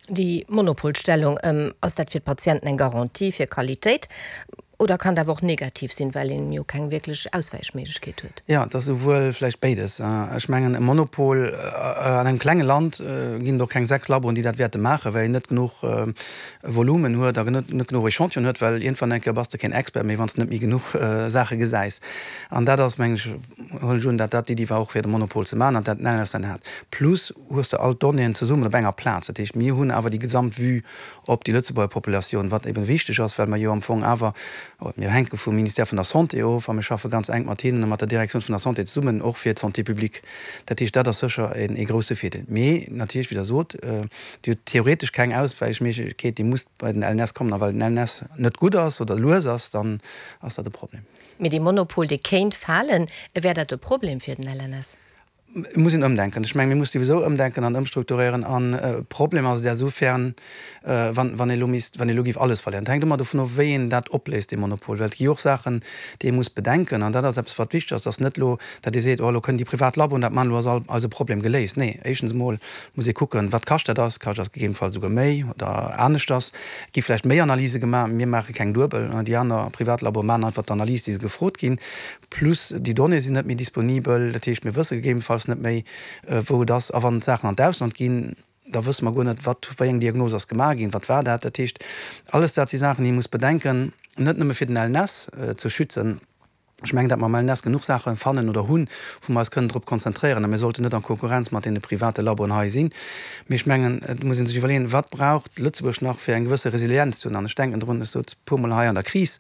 Déi Monopolstellung, ass dat fir d'Patienten eng Garantie fir Qualitéit oder kann dat awer och negativ sinn, well een jo keng wierklech Auswäichméiglechkeet huet? Jo, et ass esouwuel vläicht béides. Ech mengen, e Monopol, an engem klenge Land ginn et och keng 6 Laboen, déi dat wäerte maachen, well een net genuch Volumen huet a net genuch Echantillonen huet, well iergendwann eng Kéier bass de keen Expert méi, wann s de net méi genuch Saache gesäis. An dat ass, mengen ech, huelen ech un, dat dat d'Iddi war och fir de Monopol ze maachen an dat den LSN hat. Plus hues de all d'Donnéeën zesummen op enger Plaz. Dat heescht, mir hunn awer déi gesamt Vue op déi Lëtzebuerger Populatioun, wat eben wichteg ass, well mer jo am Fong awer, mir hänke vum Ministère vun der Santé of a mir schaffe ganz enk mat hinnen a mat der Direktioun vun der Santé zesummen, och fir d'Santé publique. Dat heescht, dat ass sécher ee grouse Virdeel. Mee natierlech, wéi Der sot, Dir hutt theoretesch keng Auswäichméiglechkeet, Dir musst bei den LNS kommen. A well den LNS net gutt ass oder lues ass, dann ass dat e Problem. Mee dee Monopol, dee kéint falen. Wär dat e Problem fir den LNS? Et muss een ëmdenken. Ech mengen, mir musse souwisou ëmdenken an ëmstrukturéieren. An e Problem ass et esoufern, wann, wann ee elo misst, wann ee elo géif alles verléieren. Et hänkt ëmmer dovun of, wéi een dat opléist, dee Monopol. Well et gi jo och Saachen, déi ee muss bedenken. An dat ass eppes, wat wichteg ass, dass net elo, datt ee seet, oh, elo kënnen déi privat Laboen dat maachen, elo ass all eise Problem geléist. Nee, éischtens emol muss ee kucken, wat kascht dat ass. Kascht ass gegebenenfalls esouguer méi oder aneschters. Et gi vläicht méi Analyse gemaach. Mir maache keng duebel. Déi aner privat Laboe maachen einfach d'Analys, déi se gefrot ginn. Plus déi Donnéeë sinn net méi disponibel, dat heescht mir wësse gegebenfalls net méi wou et ass. A wann d'Saachen an d'Ausland ginn, da wësse mer guer net wat, wéi eng Diagnos ass gemaach ginn, wat war dat. Dat heescht alles dat si Saachen déi ee muss bedenken, net nëmme fir den LNS ze schützen. Ech mengen, datt mer am LNS genuch Saache fannen oder hunn, wou mer eis kënnen drop konzentréieren a mir sollten net a Konkurrenz mat deene private Laboen hei sinn. Mee ech mengen, et muss ee sech iwwerleeën, wat braucht Lëtzebuerg nach fir eng gewësse Resilienz ze hunn. An ech denken drun, ech sot e puermol hei an der Kris,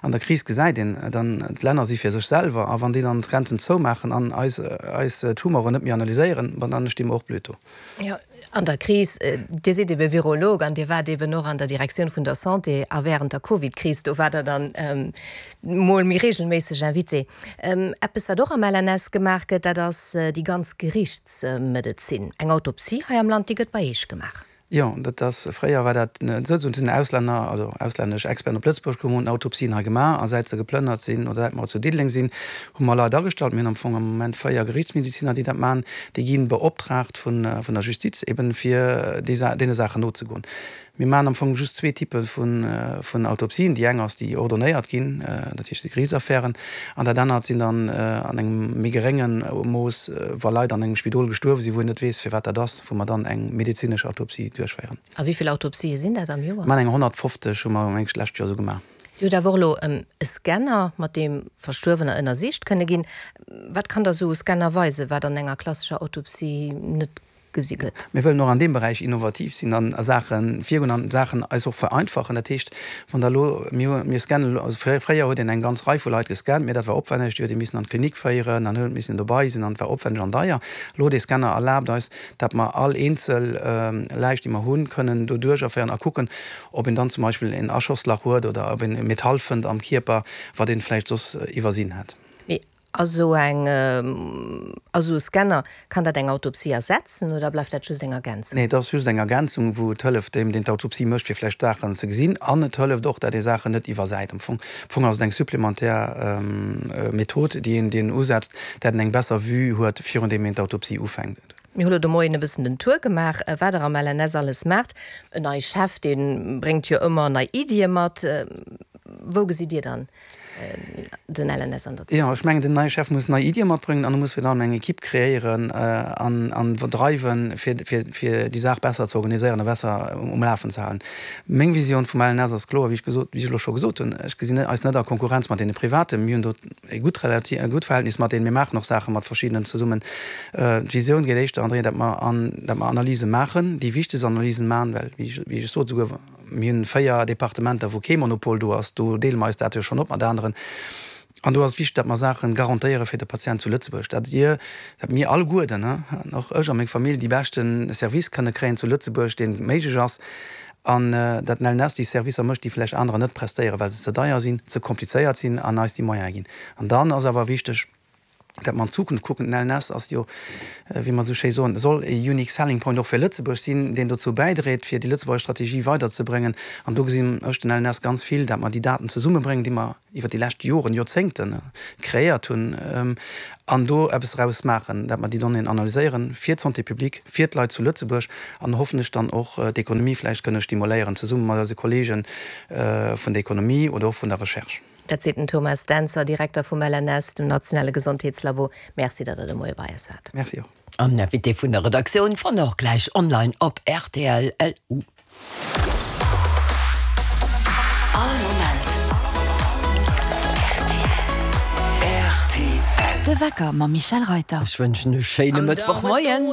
An der Kris gesäit een dann, d'Länner si fir sech selwer a wann déi dann d'Grenzen zoumaachen an eis eis Tumoren net méi analyséieren, bon dann sti mer och blöd do. Jo, an der Kris, Dir sidd ebe Virolog an Dir waart eben och an der Direktioun vun der Santé a während der Covid-Kris, do waart Der dann mol méi regelméisseg Invité. Eppes wat och am LNS gemaach gëtt, dat ass déi ganz Gerichtsmedezin. Eng Autopsie hei am Land, déi gëtt bei Eech gemaach. Jo, dat ass, fréier war dat net esou, do sinn Auslänner, also auslännesch Experten op Lëtzebuerg komm, hunn Autopsien hei gemaach a säit se geplënnert sinn oder säit mer zu Diddeleng sinn, hu mer Leit agestallt. Mir hunn am Fong am Moment 4 Gerichtsmediziner, déi dat maachen. Déi gi beoptraagt vun der Justiz eben, fir deene Saachen nozegoen. Mir maachen am Fong just zwee Typpe vun Autopsien. Déi eng ass, déi ordonnéiert ginn, dat heescht déi Geriichtsaffären, an dat anert sinn dann an engem méi gerénge Mooss, wa Leit an engem Spidol gestuerwe sinn, wou een net weess, firwat dat ass, wou mer dann eng medezinesch Autopsie duerchféieren. A wéi vill Autopsië sinn dat am Joer? Mir maachen eng 150, hu mer, meng ech, d'lescht Joer esou gemaach. Dir hutt awer och elo e Scanner, mat deem Verstuerwener ënnersicht kënne ginn. Wat kann da sou e Scanner weisen, wat an enger klassescher Autopsie net gesi gëtt. Mir wëllen och an deem Beräich innovativ sinn an a Saache virgoen an Saachen eis och vereinfachen. Dat heescht, wann Der elo, mir hu, mir scannen elo, also fréier huet een eng ganz Rei vu Leit gescannt, mä dat war opwenneg, déi huet ee missen an d'Klinik féieren an huet missen dobei sinn an et war opwenneg an deier. Elo dee Scanner erlaabt eis, dat mer all eenzel Läich, déi mer hunn, kënnen do duercherféieren a kucken, ob een dann zum Beispill een Aschosslach huet oder ob een e Metall fënnt am Kierper, wat een vläicht soss iwwersinn hätt. Mee Ass esou eng, ass esou e Scanner, kann dat eng Autopsie ersetzen oder bleift dat just eng Ergänzung? Nee, et ass just eng Ergänzung, wou et hëlleft deem, deen d'Autopsie mécht, fir vläicht Saachen ze gesinn. An et hëlleft och, dat ee Saachen net iwwersäit. Am Fong, am Fong ass et eng supplementär Method, déi een, déi een usetzt, dat een eng besser Vue huet, virun deem een d'Autopsie ufänkt. Mir hu lo de Moien e bëssen den Tour gemaach, wat Der am LNS alles maacht. En neie Chef, dee bréngt jo ëmmer nei Iddie mat. Wou gesitt Dir dann den LNS an der Zukunft? Jo, ech mengen, den neie Chef muss nei Iddie matbréngen an e muss virun allem eng Ekipp kreéieren an an dreiwen, fir fir fir déi Saach besser ze organiséieren a besser um Lafen ze halen. Meng Visioun vum LNS ass kloer, wéi ech gesot, wéi ech elo scho gesot hunn, Ech gesinn eis net a Konkurrenz mat deene Privaten. Mir hunn do e gutt Relati e gutt Verhältnis mat deenen. Mir maachen och Saache mat verschiddenen zesummen. D'Visioun geet éischter an d'Richtung, datt mer an datt mer Analyse maachen, déi wichtegst Analysen maachen, well wéi ech wéi ech sot, esouguer Mir hunn 4 Departementer, wou kee Monopol do ass. Do deele mer eis dat jo schonn op mat aneren. An do ass et wichteg, datt mer Saache garantéiere fir de Patient zu Lëtzebuerg, datt Dir, datt mir alleguerten, an och ech a meng Famill, déi beschte Service kënne kréien zu Lëtzebuerg, deen méiglech ass, an datt den LNS déi Servicer mécht, déi vläicht anerer net prestéieren, well se ze deier sinn, ze komplizéiert sinn an eis déi Moyene ginn. An dann ass awer wichteg. Dat mer an d'Zukunft kucken. Den LNS ass jo, wéi mer esou schéi soen, soll e unique selling point och fir Lëtzebuerg sinn, deen dozou bäidréit, fir déi lëtzebuerger Strategie weiderzebréngen. An do gesinn ech den LNS ganz vill, dat mer déi Daten zesummebréngen, déi mer iwwer déi lescht Joren, Joerzéngte kreéiert hunn, an do eppes draus maachen, dat mer déi Donnéeën analyséieren fir d'Santé publique, fir d'Leit zu Lëtzebuerg an hoffentlech dann och d'Ekonomie vläicht kënne stimuléieren, zesumme mat eise Kollege vun der Ekonomie oder och vun der Recherche. Dat seet den Thomas Dentzer, Direkter vum LNS, dem nationale Gesondheetslabo. Merci, datt Der de Moie bei eis waart. Merci och. An den Invité vun der Redaktioun fannt der och gläich online op rtl. LU. All Moment rtl. De Wecker mam Michèle Reyter. Ech wënschen e schéine Mëttwochmoien.